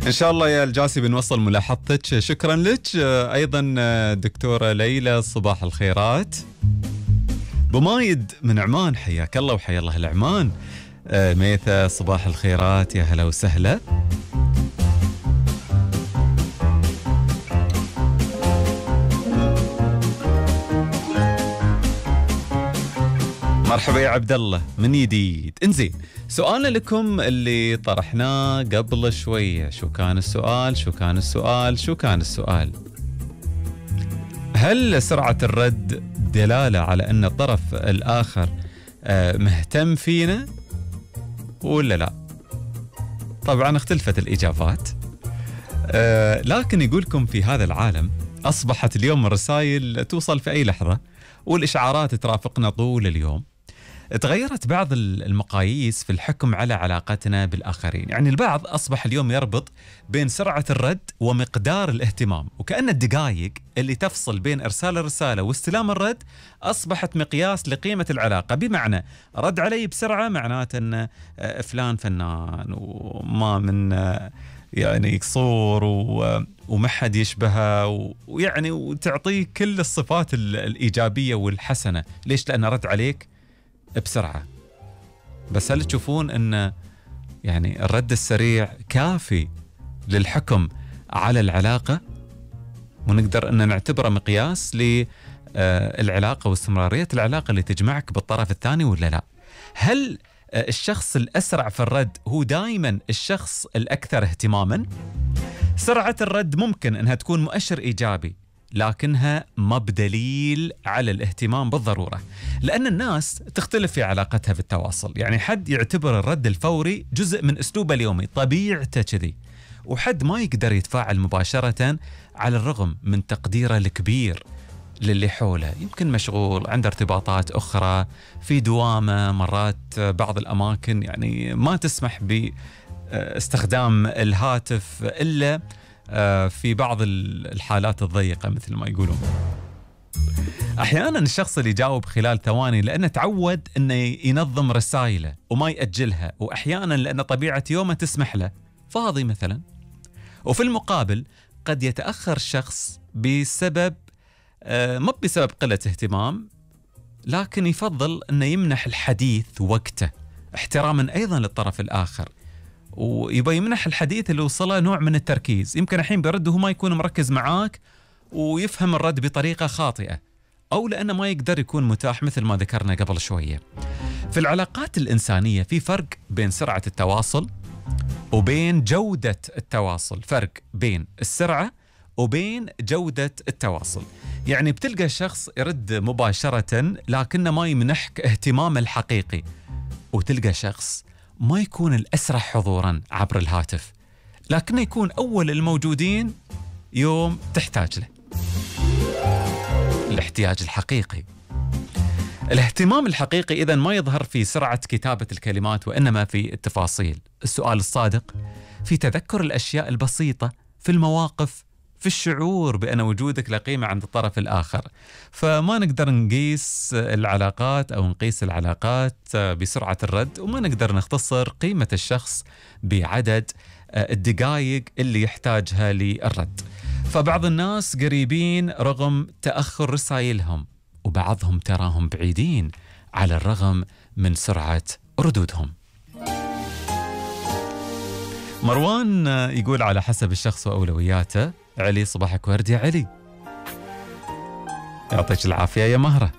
إن شاء الله يا الجاسي بنوصل ملاحظتك. شكرا لك. أيضا دكتورة ليلى صباح الخيرات. بمايد من عمان حياك الله وحيا الله العمان. ميثة صباح الخيرات يا هلا وسهلا. مرحبا يا عبد الله من جديد. انزين، سؤالنا لكم اللي طرحناه قبل شوية. شو كان السؤال؟ هل سرعة الرد دلالة على أن الطرف الآخر مهتم فينا ولا لا؟ طبعا اختلفت الإجابات، لكن يقولكم في هذا العالم أصبحت اليوم الرسائل توصل في أي لحظة والإشعارات ترافقنا طول اليوم. تغيرت بعض المقاييس في الحكم على علاقتنا بالآخرين. يعني البعض أصبح اليوم يربط بين سرعة الرد ومقدار الاهتمام، وكأن الدقائق اللي تفصل بين إرسال الرسالة واستلام الرد أصبحت مقياس لقيمة العلاقة. بمعنى رد علي بسرعة معناته أن فلان فنان وما من يعني قصور وما حد يشبهه، ويعني وتعطيه كل الصفات الإيجابية والحسنة. ليش؟ لأنه رد عليك بسرعة. بس هل تشوفون أن يعني الرد السريع كافي للحكم على العلاقة ونقدر أن نعتبره مقياس للعلاقة واستمرارية العلاقة اللي تجمعك بالطرف الثاني ولا لا؟ هل الشخص الأسرع في الرد هو دائما الشخص الأكثر اهتماما؟ سرعة الرد ممكن أنها تكون مؤشر إيجابي، لكنها ما بدليل على الاهتمام بالضرورة، لأن الناس تختلف في علاقتها بالتواصل. يعني حد يعتبر الرد الفوري جزء من أسلوبه اليومي، طبيعته كذي، وحد ما يقدر يتفاعل مباشرة على الرغم من تقديره الكبير للي حوله. يمكن مشغول، عنده ارتباطات أخرى، في دوامة، مرات بعض الأماكن يعني ما تسمح باستخدام الهاتف إلا في بعض الحالات الضيقة مثل ما يقولون. أحيانا الشخص اللي يجاوب خلال ثواني لأنه تعود أنه ينظم رسائله وما يأجلها، وأحيانا لأن طبيعة يومه تسمح له، فاضي مثلا. وفي المقابل قد يتأخر الشخص بسبب ما بسبب قلة اهتمام، لكن يفضل أنه يمنح الحديث وقته احتراما أيضا للطرف الآخر، ويبقى يمنح الحديث اللي وصله نوع من التركيز. يمكن الحين بيرد وهو ما يكون مركز معاك ويفهم الرد بطريقة خاطئة، أو لأنه ما يقدر يكون متاح مثل ما ذكرنا قبل شوية. في العلاقات الإنسانية في فرق بين سرعة التواصل وبين جودة التواصل، فرق بين السرعة وبين جودة التواصل. يعني بتلقى شخص يرد مباشرة لكنه ما يمنحك اهتمامه الحقيقي، وتلقى شخص ما يكون الأسرع حضوراً عبر الهاتف لكنه يكون أول الموجودين يوم تحتاج له. الاحتياج الحقيقي. الاهتمام الحقيقي إذن ما يظهر في سرعة كتابة الكلمات، وإنما في التفاصيل، السؤال الصادق، في تذكر الأشياء البسيطة، في المواقف، في الشعور بأن وجودك له قيمة عند الطرف الآخر. فما نقدر نقيس العلاقات بسرعة الرد، وما نقدر نختصر قيمة الشخص بعدد الدقائق اللي يحتاجها للرد. فبعض الناس قريبين رغم تأخر رسائلهم، وبعضهم تراهم بعيدين على الرغم من سرعة ردودهم. مروان يقول على حسب الشخص وأولوياته. علي صباحك ورد يا علي. يعطيك العافية يا مهرة.